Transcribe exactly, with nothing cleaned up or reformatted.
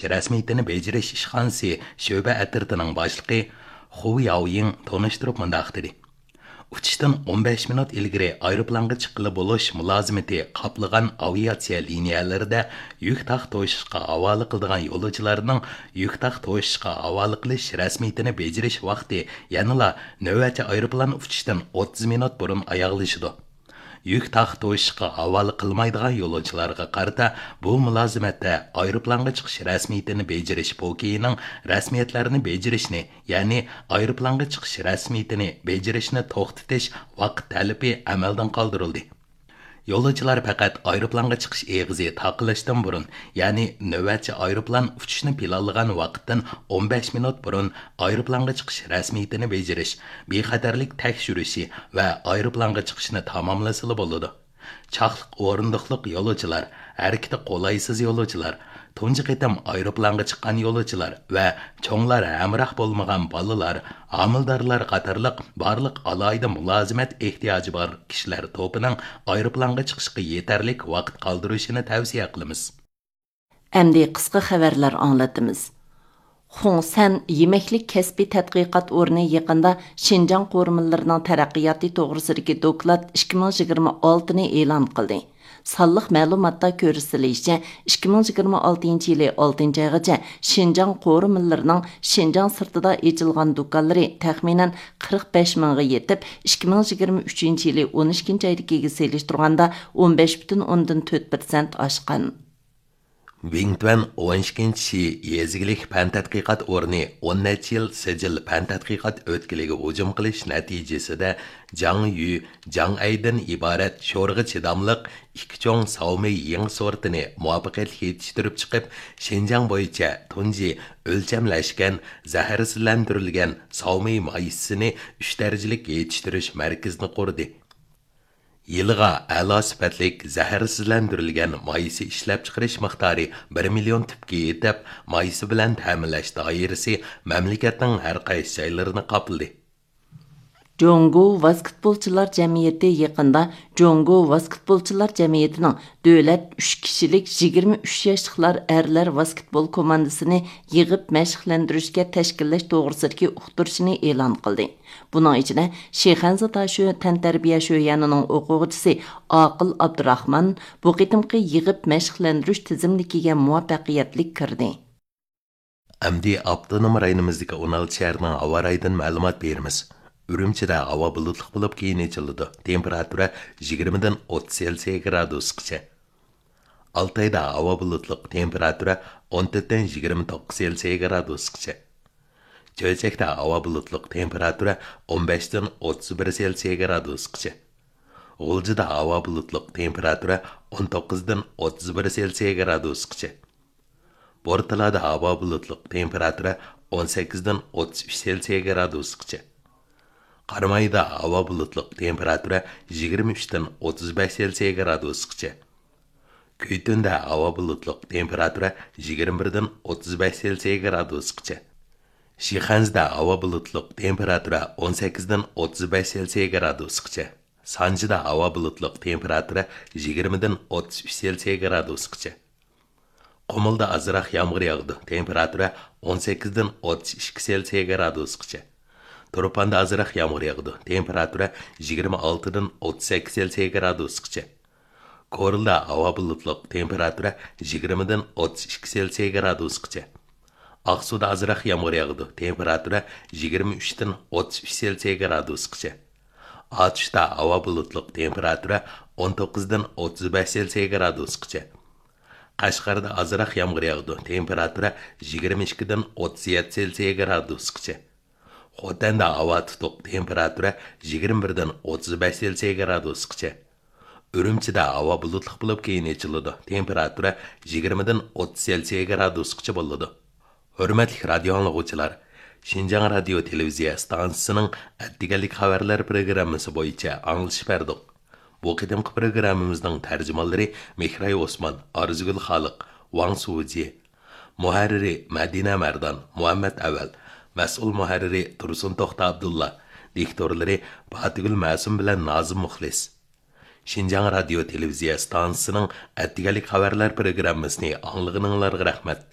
رەسمىيىتىنى بېجىرىش ئىشخانىسى شۆبە ئەترىتىنىڭ باشلىقى خۇ ياۋيىڭ تونۇشتۇرۇپ مۇنداق دېدى: ئۇچۇشتىن ئون بەش مىنۇت ئىلگىرى ئايروپىلانغا چىققىلى بولۇش مۇلازىمىتى قاپلىغان ئاۋىئاتسىيە لىنىيەلىرىدە يۈك تاق توشۇشقا ھاۋالە قىلىدىغان يولۇچىلارنىڭ يۈك تاق توشۇشقا ھاۋالە قىلىش رەسمىيىتىنى بېجىرىش ۋاقتى يەنىلا نۆۋەتچى ئايروپىلان ئۇچۇشتىن ئوتتۇز مىنۇت بۇرۇن ئاياغلىشىدۇ. يۈك تاق توشۇشقا ھاۋالە قىلمايدىغان يولۇچىلارغا قارىتا بۇ مۇلازىمەتتە ئايروپىلانغا چىقىش رەسمىيىتىنى بېجىرىش پوكىيىنىڭ رەسمىيەتلەرنى بېجىرىشنى، يەنى ئايروپىلانغا چىقىش رەسمىيىتىنى بېجىرىشنى توختىتىش ۋاقىت تەلىپى ئەمەلدىن قالدۇرۇلدى. يولۇچىلار پەقەت ئايروپىلانغا چىقىش ئېغىزى تاقىلىشتىن بۇرۇن، يەنى نۆۋەتچى ئايروپىلان ئۇچۇشنى پىلانلىغان ۋاقىتتىن ئون بەش مىنۇت بۇرۇن ئايروپىلانغا چىقىش رەسمىيىتىنى بېجىرىش، بىخەتەرلىك تەكشۈرۈشى ۋە ئايروپىلانغا چىقىشنى تاماملىسىلا بولىدۇ. چاقلىق ئورۇندۇقلۇق يولۇچىلار، ھەرىكىتى قولايسىز يولۇچىلار، تۇنجى قېتىم ئايروپىلانغا چىققان يولۇچىلار ۋە چوڭلار ھەمراھ بولمىغان بالىلار، ھامىلىدارلار قاتارلىق بارلىق ئالاھىدە مۇلازىمەت ئېھتىياجى بار كىشىلەر توپىنىڭ ئايروپىلانغا چىقىشقا يېتەرلىك ۋاقىت قالدۇرۇشىنى تەۋسىيە قىلىمىز. ئەمدى قىسقا خەۋەرلەر ئاڭلىتىمىز. خۇڭسەن يېمەكلىك كەسپىي تەتقىقات ئورنى يېقىندا شىنجاڭ قورۇمىلىرىنىڭ تەرەققىياتى توغرىسىدىكى دوكلات ئىككى مىڭ يىگىرمە ئالتىنى ئېلان قىلدى. سانلىق مەلۇماتتا كۆرسىتىلىشىچە، ئىككى مىڭ يىگىرمە ئالتىنچى يىلى ئالتىنچى ئايغىچە شىنجاڭ قورۇمىلىرىنىڭ شىنجاڭ سىرتىدا ئېچىلغان دۇكانلىرى تەخمىنەن قىرىق بەش مىڭغا يېتىپ، ئىككى مىڭ يىگىرمە ئۈچىنچى يىلى ئون ئىككىنچى ئايدىكىگە سېلىشتۇرغاندا ئون بەش پۈتۈن ئوندىن تۆت پىرسەنت ئاشقان. ۋىڭتۈەن ئون ئىككىنچى شى يېزا ئىگىلىك پەن تەتقىقات ئورنى ئون نەچچە يىل سىجىل پەن تەتقىقات ئۆتكىلىگە ھۇجۇم قىلىش نەتىجىسىدە جاڭ يۈ، جاڭ ئەيدىن ئىبارەت شورىغا چىداملىق ئىككى چوڭ ساۋمېي يېڭى سورتىنى مۇۋەپپەقىيەتلىك يېتىشتۈرۈپ چىقىپ، شىنجاڭ بويىچە تۇنجى ئۆلچەملەشكەن، زەھەرسىزلەندۈرۈلگەن ساۋمېي مايسىسىنى ئۈچ دەرىجىلىك يېتىشتۈرۈش مەركىزىنى قۇردى. يىلىغا ئەلا سۈپەتلىك زەھەرسىزلەندۈرۈلگەن مايسا ئىشلەپچىقىرىش مىقدارى بىر مىليون تۈپكە يېتىپ، مايسا بىلەن تەمىنلەش دائىرىسى مەملىكەتنىڭ ھەر قايسى جايلىرىنى قاپلىدى. جۇڭگو ۋاسكېتبولچىلار جەمئىيىتى يېقىندا جۇڭگو ۋاسكېتبولچىلار جەمئىيىتىنىڭ دۆلەت ئۈچ كىشىلىك يىگىرمە ئۈچ ياشلىقلار ئەرلەر ۋاسكېتبول كوماندىسىنى يىغىپ مەشىقلەندۈرۈشكە تەشكىللەش توغرىسىدىكى ئۇقتۇرۇشىنى ئېلان قىلدى. بۇنىڭ ئىچىدە شىخەنزە داشۆ تەنتەربىيە شۆيەنىنىڭ ئوقۇغۇچىسى ئاقىل ئابدۇراخمان بۇ قېتىمقى يىغىپ مەشىقلەندۈرۈش تىزىملىكىگە مۇۋەپپەقىيەتلىك كىردى. ئەمدى ئاپتونوم رايونىمىزدىكى ئون ئالتە شەھەرنىڭ ھاۋا رايىدىن مەلۇمات بېرىمىز. ئۈرۈمچىدە ھاۋا بۇلۇتلۇق بولۇپ، كېيىن ئېچىلىدۇ. تېمپېراتۇرا يىگىرمىدىن ئوتتۇز سېلسىيە گرادۇسقىچە. ئالتايدا ھاۋا بۇلۇتلۇق، تېمپېراتۇرا ئون تۆتتىن يىگىرمە توققۇز سېلسىيە گرادۇسقىچە. چۆچەكتە ھاۋا بۇلۇتلۇق، تېمپېراتۇرا ئون بەشتىن ئوتتۇز بىر سېلسىيە گرادۇسقىچە. غۇلجىدا ھاۋا بۇلۇتلۇق، تېمپېراتۇرا ئون توققۇزدىن ئوتتۇز بىر سېلسىيە گرادۇسقىچە. بورتالادا ھاۋا بۇلۇتلۇق، تېمپېراتۇرا ئون سەككىزدىن ئوتتۇز ئۈچ سېلسىيە گرادۇسقىچە. قارامايدا ھاۋا بۇلۇتلۇق، تېمپېراتۇرا يىگىرمە ئۈچتىن ئوتتۇز بەش سېلسىيە گرادۇسقىچە. كۈيتۈندە ھاۋا بۇلۇتلۇق، تېمپېراتۇرا يىگىرمە بىردىن ئوتتۇز بەش سېلسىيە گرادۇسقىچە. شىخەنزىدە ھاۋا بۇلۇتلۇق، تېمپېراتۇرا ئون سەككىزدىن ئوتتۇز بەش سېلسىيە گرادۇسقىچە. سانجىدا ھاۋا بۇلۇتلۇق، تېمپېراتۇرا يىگىرمىدىن ئوتتۇز ئۈچ سېلسىيە گرادۇسقىچە. قۇمۇلدا ئازراق يامغۇر ياغىدۇ، تېمپېراتۇرا ئون سەككىزدىن ئوتتۇز ئىككى سېلسىيە گرادۇسقىچە. تۇرپاندا ئازراق يامغۇر ياغىدۇ، تېمپېراتۇرا يىگىرمە ئالتىدىن ئوتتۇز سەككىز سېلسىيە گرادۇسقىچە. كورلىدا ھاۋا بۇلۇتلۇق، تېمپېراتۇرا يىگىرمىدىن ئوتتۇز ئىككى سېلسىيە گرادۇسقىچە. ئاقسۇدا ئازراق يامغۇر ياغىدۇ، تېمپېراتۇرا يىگىرمە ئۈچتىن ئوتتۇز ئۈچ سېلسىيە گرادۇسقىچە. ئاتۇشتا ھاۋا بۇلۇتلۇق، تېمپېراتۇرا ئون توققۇزدىن ئوتتۇز بەش سېلسىيە گرادۇسقىچە. قەشقەردە ئازراق يامغۇر ياغىدۇ، تېمپېراتۇرا يىگىرمە ئىككىدىن ئوتتۇز يەتتە سېلسىيە گرادۇسقىچە. خوتەندە ھاۋا تۇتۇق، تېمپېراتۇرا يىگىرمە بىردىن ئوتتۇز بەش سېلسىيە گرادۇسقىچە. ئۈرۈمچىدە ھاۋا بۇلۇتلۇق بولۇپ، كېيىن ئېچىلىدۇ، تېمپېراتۇرا يىگىرمىدىن ئوتتۇز سېلسىيە گرادۇسقىچە بولىدۇ. ھۆرمەتلىك رادىيو ئاڭلىغۇچىلار، شىنجاڭ رادىيو تېلېۋىزىيە ئىستانسىسىنىڭ ئەتىگەنلىك خەۋەرلەر پروگراممىسى بويىچە ئاڭلىتىش بەردۇق. بۇ قېتىمقى پروگراممىمىزنىڭ تەرجىمانلىرى مېھراي ئوسمان، ئارزۇگۈل خالىق، ۋاڭ سۇجى. مۇھەررىرى مەدىنە مەردان، مۇھەممەت ئەۋەل. مەسئۇل مۇھەررىرى تۇرسۇن توختى ئابدۇللا. دىكتورلىرى پاتىگۈل مەسۇم بىلەن نازىم مۇخلىس. شىنجاڭ رادىيو تېلېۋىزىيە ئىستانسىسىنىڭ ئەتىگەنلىك خەۋەرلەر پروگراممىسىنى ئاڭلىغىنىڭلارغا رەھمەت.